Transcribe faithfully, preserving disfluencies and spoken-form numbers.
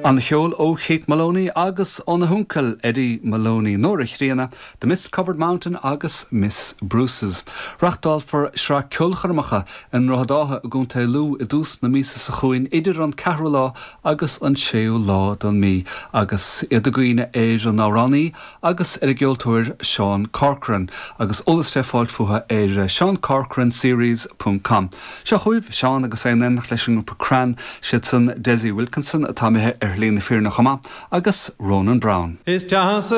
An-cheol ó Kate Moloney agus óna huncail Eddie Moloney Nóra Chríonna, The Mist Covered Mountain agus Miss Bruce's. Reáchtálfar sraith ceolchoirmeacha i nDroichead Átha i gContae Lú i dtús na míosa seo chugainn idir an ceathrú lá agus an séú lá den mhí, agus iad ag cuimhneamh ar an amhránaí agus ar an gceoltóir Seán Corcoran, agus eolas le fáil fúthu ar Sean series.com. Seo chugaibh Seán agus é in éineacht leis an ngrúpa Crann siad san Dessie Wilkinson atá imithe ar shlí na fírinne chomh maith agus Ronan Brown. Is deas